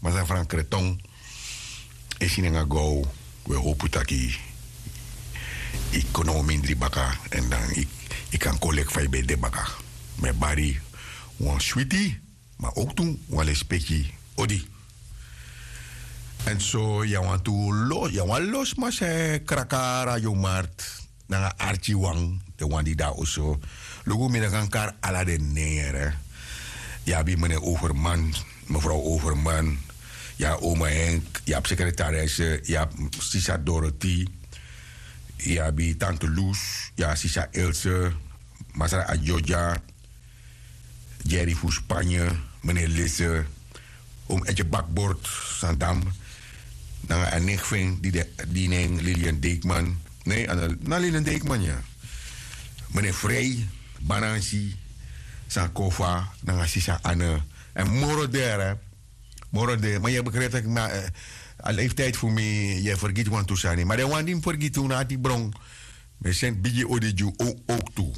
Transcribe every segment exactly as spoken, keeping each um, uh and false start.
masra frankreton. E si nanga gow. We hopu taki yu kon na wan mindri baka, èn dan yu kan kon leki fa yu ben de baka. Mi e bari wan switi, ma owktu wan lespeki odi. Èn so yu na wan tu los yu na wan los masi e kraka radio mart, nanga arki wan den wan di de na oso. Luku mi no kan kari ala den nen yere. Yu abi mene overman, mefrow overman, yu abi oma henk, yu abi sekretaresse, yu abi sisa dorothy, yu abi tante lus, yu abi sisa else, masra adjodja, jerry fu spanye, mene lisse, om etje bakbord, sandam, nanga a nek fu en di nen lilian deikman. Ne, na lilian deikman ya. Mene frei, banansi, sankofa, nanga sisa ane. Èn moro de. Moro de ma yu e begrijp taki mi a leeftijd fu mi, yu e fergiti wantu sani ma den wan di mi fergiti unu ati bron. Mi e senti bigi odi gi unu. Owktu,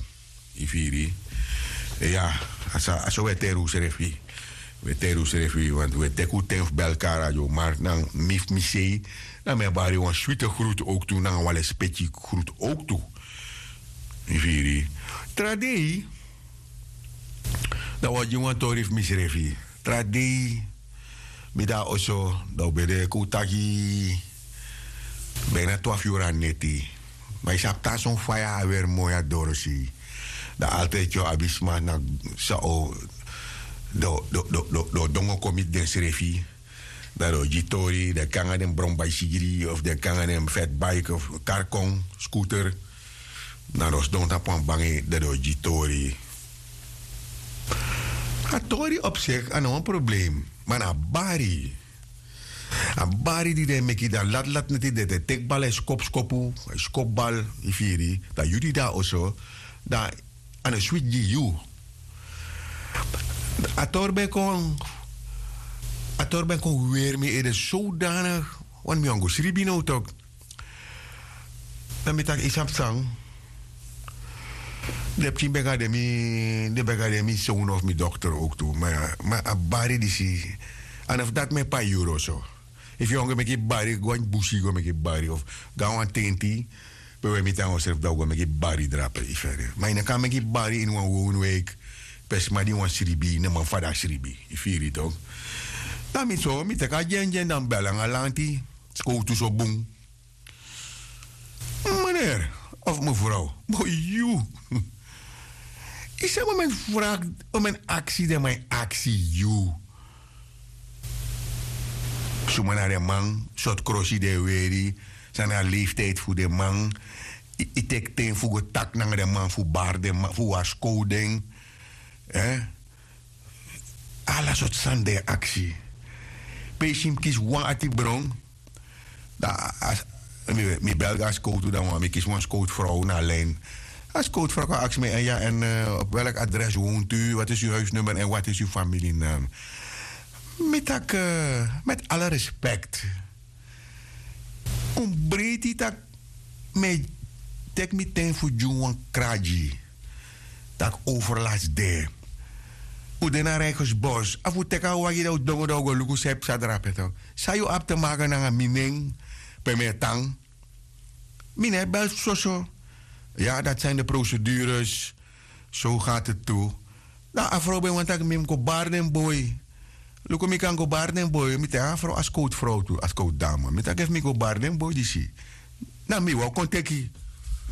yu firi? Iya. A so wi e teri unsrefi. Wi e teri unsrefi want wi e teki un ten fu belkara gi un mark nanga mi fu mi sei. Dan mi e bari wan switi grutu owktu nanga wan lespeki grutu owktu. Yu firi? Tra dei, dan wi o gi wan tori fu misrefi. Tra dei mi de na oso, dan un ben de kon un taki bina twafu yuru na neti. Ma yu sabi tan son faya aweri moi na dorosei. Dan altidi yu o abi sma na san o den o dongo kon miti densrefi. Dan den o gi tori den e kon nanga den bron baisigri of den e kon nanga den fetbaik of karkon skuter. Dan den o sidon tapu wan bangi dan den o gi tori. A tori op sek a no wan problem. Ma na a bari, a bari di den e meki dan latlati neti den e teki bal a e skopu skopu, a e skopu bal. Yu firi? Dan yu di de na oso, dan a no switi gi yu. A tori ben kon a tori ben kon weri mi ede sowdanik. Wani mi wani go sribi now tok. Dan mi taki yu sabi san? Den pikin ben kan de mi den ben kan de mi sownu of mi dokter owktu. Ma a bari disi, a no fu dati mi e pai yuru oso. Efu yu wani go meki bari go na busi go meki bari of go na wan tenti, pe wi e miti nanga unsrefi dan un go meki bari drape yu feri. Ma yu no kan meki bari ini wan wownu weik, pe sma di wani sribi no man fa di a sribi. Yu firi tok? Dan mi so mi teki a gi en gi en dan mi bel nanga lanti. Skowtu so bun. Meneer of mevrouw, boi yu. Yu sabi un men fu fraki, un men aksi den man e aksi yu. Suma na den man? Sortu krosi den e weri? San na a leeftijd fu den man? Yu teki ten fu go taki nanga den man fu bari den man fu warskow den? Ala sortu sani den e aksi. Pe yu si mi kisi wan ati bron. Dan mi bel go na skowtu dan wan mi kisi wan skowtu frow na a lin. A skowtu frow kon aksi mi èn ya èn op welk adres wontu yu wat is yu huisnummer èn wat is yu familie nam? Mi taki met ala respekt. Un breiti tak' mi e teki mi ten fu gi un wan kragi. Tak' overlast de. Un de na reigersbos a fu teki a wagi dan un dongo dan un go luku san e psa drape tok? San yu abi te maken nanga mi nen? Pe mi e tan? Mi no e bel soso. Ya dati san ini de procedures. So gati tu. Dan a frow ben wani tak' mi mus go bari den boi. Luku mi kan go bari den boi mi teki a frow a skowtu frow tu a skowtu dama mi taki efu mi go bari den boi disi, na mi wan kon teki.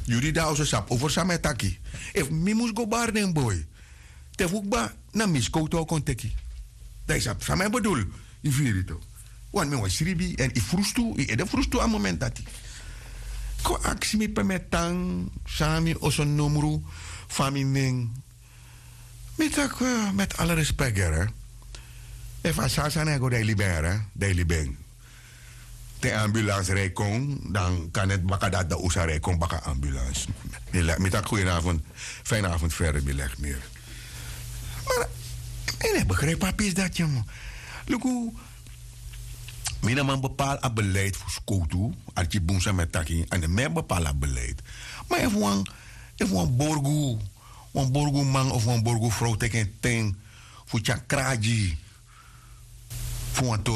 Yu di de na oso sabi over san mi e taki. Efu mi mus go bari den boi te fu kba, na mi skowtu wan kon teki. Dan yu sabi san mi e bedul. Yu firi tu? Wani mi wan sribi èn yu frustu yu ede frustu a moment dati. Kon aksi mi pe mi e tan, san na mi oso nomru, fa mi nen. Mi taki met ala respek yere. Efu a sani sani e go dan yu libi en yere dan yu libi en. Te ambulans rij kon dan kan neti baka dati dan un sa rij kon baka ambulans. Mi taki goedenavond, fijne avond verder mi legi miri. Mara mi no e begrijpi a pisi dati ya man. Luku, mi no man bepaal a beleid fu skowtu. Arki bun san mi e taki a no mi e bepaal a beleid. Ma efu wan efu wan borgu wan borgu man of wan borgu frow teki en ten fu tyari kragi fu wan